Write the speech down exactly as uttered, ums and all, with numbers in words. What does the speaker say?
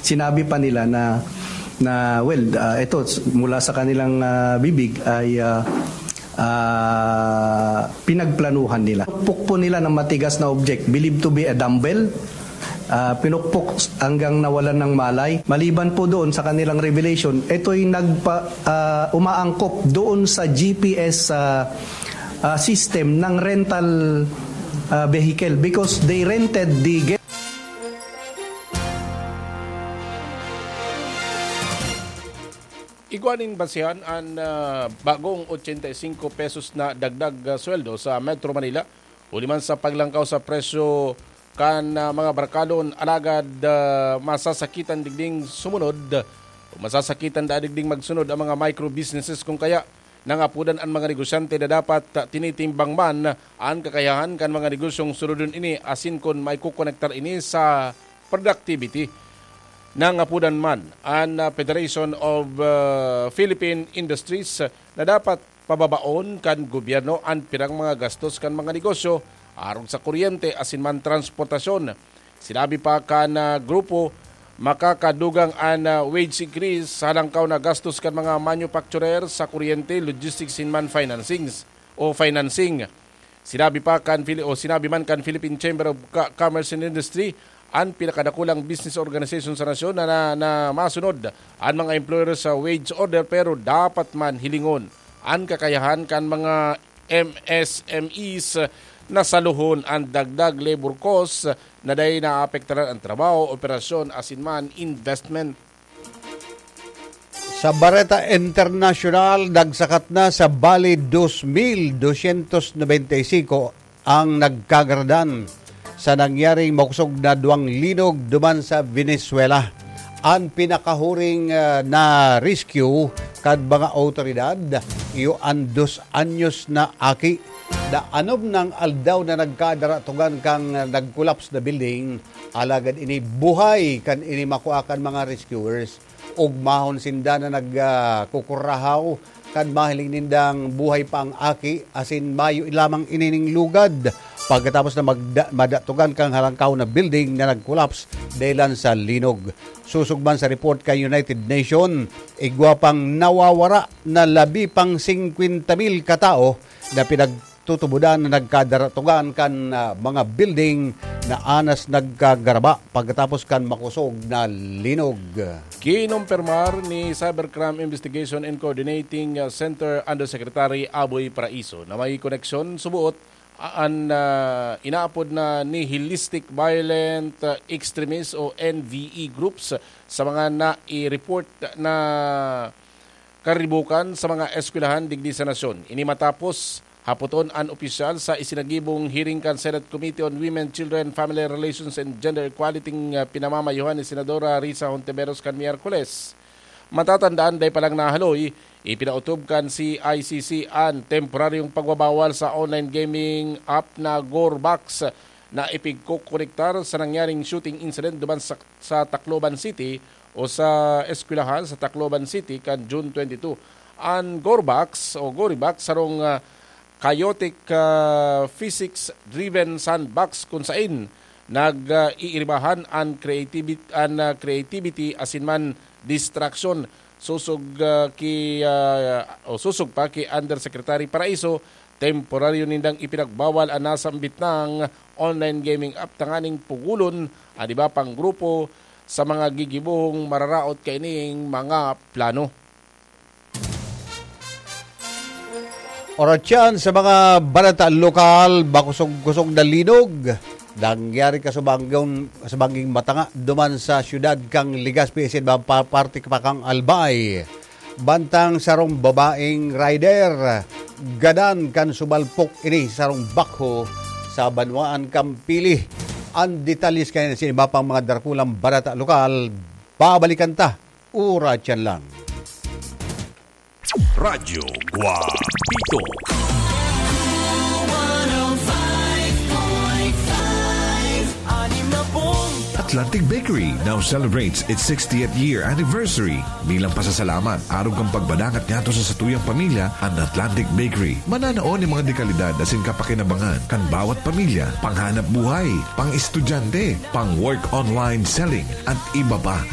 Sinabi pa nila na, na, well, ah, ito, s-, mula sa kanilang, ah, bibig ay, ah, ah, pinagplanuhan nila. Pinukpok po nila ng matigas na object, believed to be a dumbbell. Ah, pinukpok hanggang nawalan ng malay. Maliban po doon sa kanilang revelation, ito'y nagpa-, ah, umaangkop doon sa G P S, ah, ah, system ng rental, ah, vehicle because they rented the Igwa nin basihan an, ah, bagong ochenta y cinco pesos na dagdag, ah, sweldo sa Metro Manila, huli man sa paglangkaw sa presyo kan, ah, mga barkalon, alagad, ah, masasakitan digding sumunod o masasakitan da digding magsunod ang mga micro businesses. Kung kaya, nangapodan an mga negosyante na dapat, ah, tinitimbang man an kakayahan kan mga negosyong sunodon ini asin kun maikokonektar ini sa productivity. Nangapodan man an, ah, Federation of, ah, Philippine Industries na dapat pababaon kan gobyerno an pirang mga gastos kan mga negosyo arog sa kuryente asin man transportasyon. Sinabi pa kan, ah, grupo, makakadugang an, ah, wage increase sa halangkaw na gastos kan mga manufacturer sa kuryente, logistics asin man financings o financing. Sinabi pa kan Phili-, o sinabi man kan Philippine Chamber of Ca-, Commerce and Industry, an pinakadakulang business organization sa nasyon, na, na, na masunod an mga employer sa wage order, pero dapat man hilingon an kakayahan kan mga M S M Es na saluhon an dagdag labor cost na dai naapektaran an trabaho, operasyon asin man investment. Sa bareta internasyonal, nagsakat na sa bali dos mil dosyentos nobenta y singko ang nagkagaradan sa nangyaring makosog na duwang linog duman sa Venezuela. An pinakahuring, ah, na rescue kan mga awtoridad, iyo an dos anyos na aki na anom nang aldaw na nagkadaratugan kan, ah, nagkolaps na building. Alagad ini buhay kan ini makua kan mga rescuers. Ogmahon sinda na nag, ah, kukurahaw kan mahiling nindang buhay pa ang aki asin mayo lamang ining lugad pagkatapos na magda-, madatugan kan halangkaw na building na nagkolaps dahilan sa linog. Sosog man sa report kan United Nation, igwa pang nawawara na labi pang singkwenta mil katao na pinagtutubodan na nagkadaratugan kan, ah, mga building na anas nagkagaraba pagkatapos kan makosog na linog. Kinumpirmar ni Cybercrime Investigation and Coordinating, ah, Center Undersecretary Aboy Paraiso na may koneksyon subuot an, ah, inaapod na nihilistic violent, ah, extremist o N V E groups sa mga nai-report na karibukan sa mga eskwelahan digdi sa nasyon. Ini matapos hapoton an opisyal sa isinagibong hearing kan Senate Committee on Women, Children, Family Relations, and Gender Equality, ah, pinamamayohan ni Senadora Risa Hontiveros kan Miyerkules. Matatandaan, dai pa lang nahaloy, ipinautob kan C I C C an temporaryong pagbabawal sa online gaming app na Gorebox na ipigkokonektar sa nangyaring shooting incident duman sa, sa Tacloban City o sa eskwelahan sa Tacloban City kan June twenty-two. An Gorebox o Gorebox sarong, ah, chaotic, ah, physics-driven sandbox kun sain nag, ah, iiribahan an creativit-, an, ah, creativity asin man distraction. Sosog, ah, ki, ah, o sosog pa ki Undersecretary Paraiso, temporaryo nindang ipinagbawal an nasambit nang online gaming app tanganing pugulon an iba pang grupo sa mga gigibong mararaot kaining mga plano. Oras yan sa mga balita lokal, makosog-kosog na linog. Nangyari kasubanggong, kasubangging matanga duman sa siyudad kan Legazpi, isin pa parte pa kan Albay. Bantang sarong babaeng rider, gadan kan sumalpok ini sarong backhoe sa banwaan kan Pili. An detalye sa kayan sa iba pang mga darakulang balita lokal, babalikan ta. Oras yan lang. Radyo Guapito. Atlantic Bakery now celebrates its sixtieth year anniversary. Bilang pasasalamat, arog kan pagbadangat ngadto sa satuyang pamilya, an Atlantic Bakery mananao nin mga dekalidad asin kapakinabangan kan bawat pamilya, panghanap buhay, pang-estudyante, pang-work online selling, at iba pa.